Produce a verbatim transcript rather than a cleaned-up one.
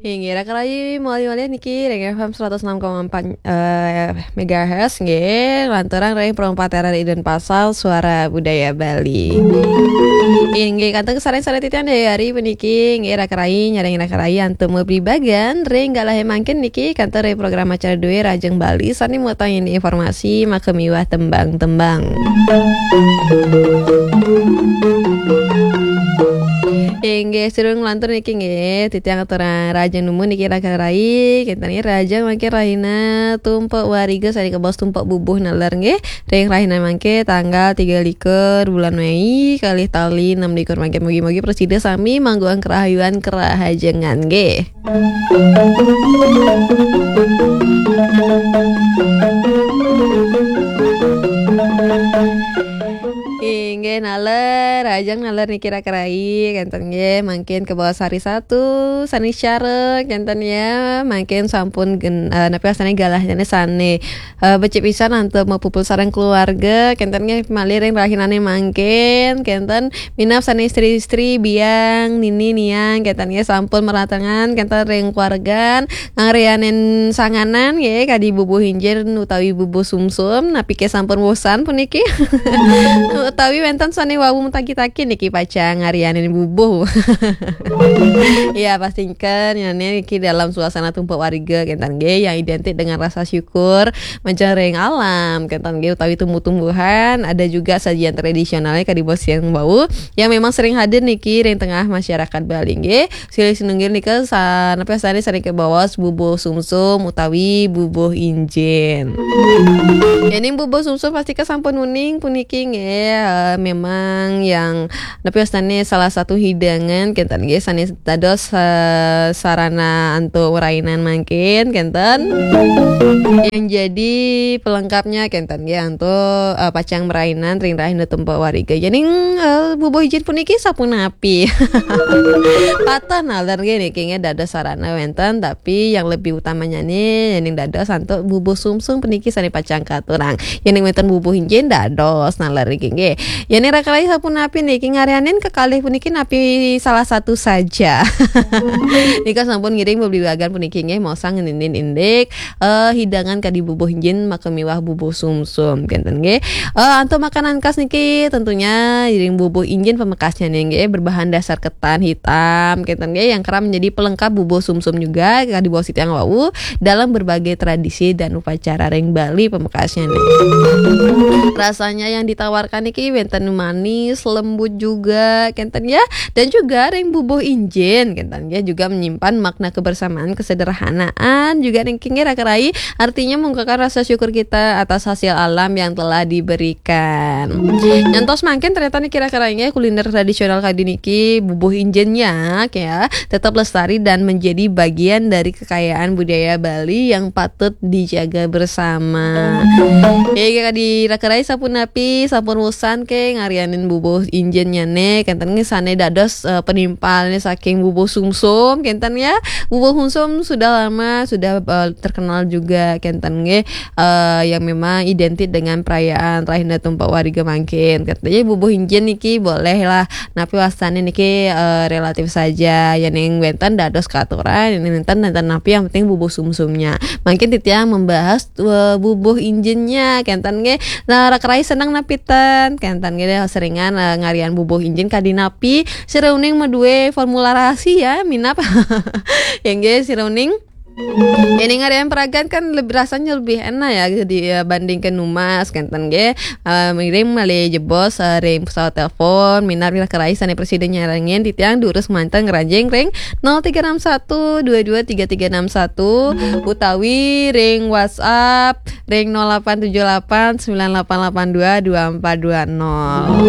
Inggih, raka rayi, malih-malih niki ring F M seratus enam koma empat, eh, megahertz, nggih, lanturang ring Pro empat R R I Denpasar, Suara Budaya Bali. Inggih, kantun kasareng-sareng titiang daya hari puniki, nggih, raka rayi, nyarengin raka rayi antuk mabebagan ring galahé mangkin niki, kantun ring program acara dué Rahajeng Bali, sané mawasta informasi, maka miwah tembang-tembang. Inggih, sira nglantur niki nggih, titiang aturang rahajeng nunas niki raka rayi, kénten nggih rahajeng mangkin rahina Tumpek Wariga sané kabaos Tumpek Bubuh naler nggih. Ring rahina mangkin tanggal tiga likur bulan Mei, kalih tali enam likur mangkin, mugi-mugi prasida sami mangguhang karahayuan karahajengan nggih. Inggih, naler, rahajeng naler niki raka rayi, kénten nggih, mangkin kabaos hari Sabtu, sané sareng, kénten ya, mangkin sampun gen-, eh, napi wastané galahé sané, eh, becik pisan antuk mapupul sareng keluarga, kénten nggih, malih ring rahinané mangkin, kénten minab sané istri-istri, biang, nini, niang, kénten nggih, sampun maratengan, kénten ring keluargan, ngarianin sanganan, nggih, kadi bubuh injin utawi bubuh sumsum, napi ké sampun bosan puniki? Utawi wénten sané wau matagi-tagi niki pacang ngarianin bubuh. Ya, pastikan ya niki dalam suasana Tumpek Wariga, kénten nggih, yang identik dengan rasa syukur, majeng ring alam, kénten nggih, utawi tumbuh-tumbuhan, ada juga sajian tradisionalnya kadi bos yang bau, yang memang sering hadir niki ring tengah masyarakat Bali nggih. Silih sinunggil nika sa-, napi wastané sané kabaos bubuh sumsum utawi bubuh injin. Yéning bubuh sumsum pasti sampun uning puniki nggih, eh, memang yang napi wastané salah satu hidangan kénten nggih sané dados, eh, sarana antuk marainan mangkin kénten. Yang jadi pelengkapnya kénten nggih antuk, eh, pacang marainan ring rahina Tumpek Wariga. Yéning, eh, bubuh injin puniki sapunapi? Pateh naler nggih niki nggih dados sarana wénten, tapi yang lebih utamanya nih yéning dados antuk bubuh sumsum puniki sané pacang katurang. Yéning wénten bubuh injin dados naler niki nggih. Yéning raka rayi sapunapi niki ngarianin kekalih puniki napi salah satu saja? Nika sampun ngiring beblibagan puniki nggih, maosang ngeninin indik, eh, hidangan kadi bubuh injin maka miwah bubuh sumsum, kénten nggih. Eh, antuk makanan khas niki tentunya iring bubuh injin pamekasnya nih nggih, berbahan dasar ketan hitam, kénten nggih, yang kerap menjadi pelengkap bubuh sumsum juga kadi baos titiang wau dalam berbagai tradisi dan upacara ring Bali pamekasnya nih. Rasanya yang ditawarkan niki wénten manis, lembut juga, kénten ya. Dan juga ring bubuh injin, kénten ya, juga menyimpan makna kebersamaan, kesederhanaan, juga ring kengge raka rai, artinya mengungkapkan rasa syukur kita atas hasil alam yang telah diberikan. Nyantos mangkin ternyata niki raka rai nggih, kuliner tradisional kadi niki, bubuh injin ya, ya, tetap lestari dan menjadi bagian dari kekayaan budaya Bali yang patut dijaga bersama. Ya, kadi raka rai sapunapi, sampun bosan ke ngarianin bubuh injinnya ne, kenten nggih sane dados, eh, penimpalne saking bubuh sumsum, kenten ya. Bubuh sumsum sudah lama, sudah, eh, terkenal juga, kenten nggih, eh, yang memang identik dengan perayaan Rahina Tumpak Wariga mangkin. Kenten, jadi bubuh injin niki boleh lah, napi wastane niki, eh, relatif saja. Yen ning wenten dados katuran, yen ning nenten, nenten napi, yang penting bubuh sumsumnya. Mangkin titiang membahas, eh, bubuh injinnya, kenten nggih. Nah, raka rai seneng napi ten? Kenten nggih, seringan, eh, ngarian bubuh injin kadi napi? Sira uning madue formula rahasia, minab. Ya nggih, sira uning. Yen ning ngarian peragan kan lebih, rasanya lebih enak ya, di, ya, bandingke numas, kenten nggih. Eh, ngiring malih jebos, eh, ring pesawat telepon, minab raka rai sane prasida nyarengin titiang durus manten ngranjing ring nol tiga enam satu dua dua tiga tiga enam satu utawi ring WhatsApp ring nol delapan tujuh delapan sembilan delapan delapan dua dua empat dua nol.